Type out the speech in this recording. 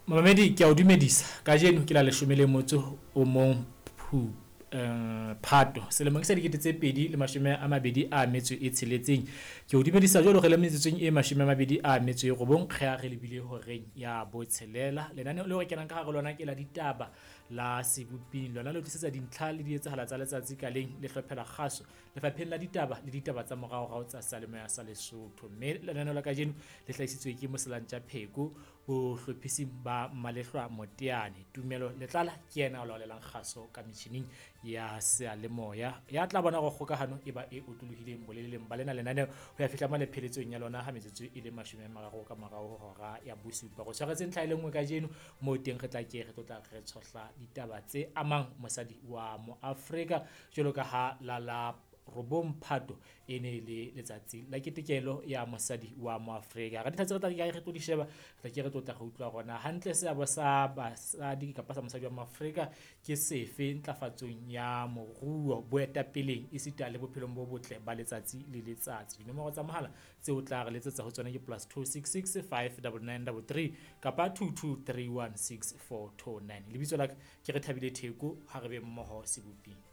Momamedi, ke a o dumedisa. Kajeno ke la 11 Phato selemong sa 2026. Ke o dumedisa jwalo re le metsotsong e 29 re a re lebile horeng ya botshelela. Lenaneo leo re kenang ka hare lona ke la ditaba la Seboping. Lona le tlisetsa dintlha le dietsahala tsa letsatsi ka leng le hlophela kgaso lefapheng la ditaba le ditaba tsa moraorao tsa seyalemoya sa Lesotho. Mme lenaneo la kajeno le hlahisitswe ke Moselantja Pheko bohlophising ba Malehlwa Moteane. Tumelo Letlala ke yena a laolelang kgaso ka metjhining ya seyalemoya. Ya tla bona hore kgokahano e ba e otlolohileng boleleng ba lena lenaneo ho ya fihla mane pheletsong ya lona ha metsotso e le 30 ka morao ho hora ya bosupa. Go tshwaretse ntlha e le nngwe kajeno moo teng re tla ke re tlotla re tshohla ditaba tse amang mosadi wa Moafrika jwalo ka ha la la 9 Phato e ne le letsatsi la ketekelo ya mosadi wa Moafrika. Ra dintlha tse re tla ke re tlo di sheba, re tla ke re tlotla re utlwa rona hantle seabo sa basadi kapa sa mosadi wa Moafrika ke sefe ntlafatsong ya moruo, boetapeleng esita le bophelong bo botle ba letsatsi le letsatsi. Dinomoro tsa mohala tseo o tla re letsetsa ho tsona ke +266 59933 kapa 22316429. Lebitso la ka ke Rethabile Theko, ha re be mmoho Seboping.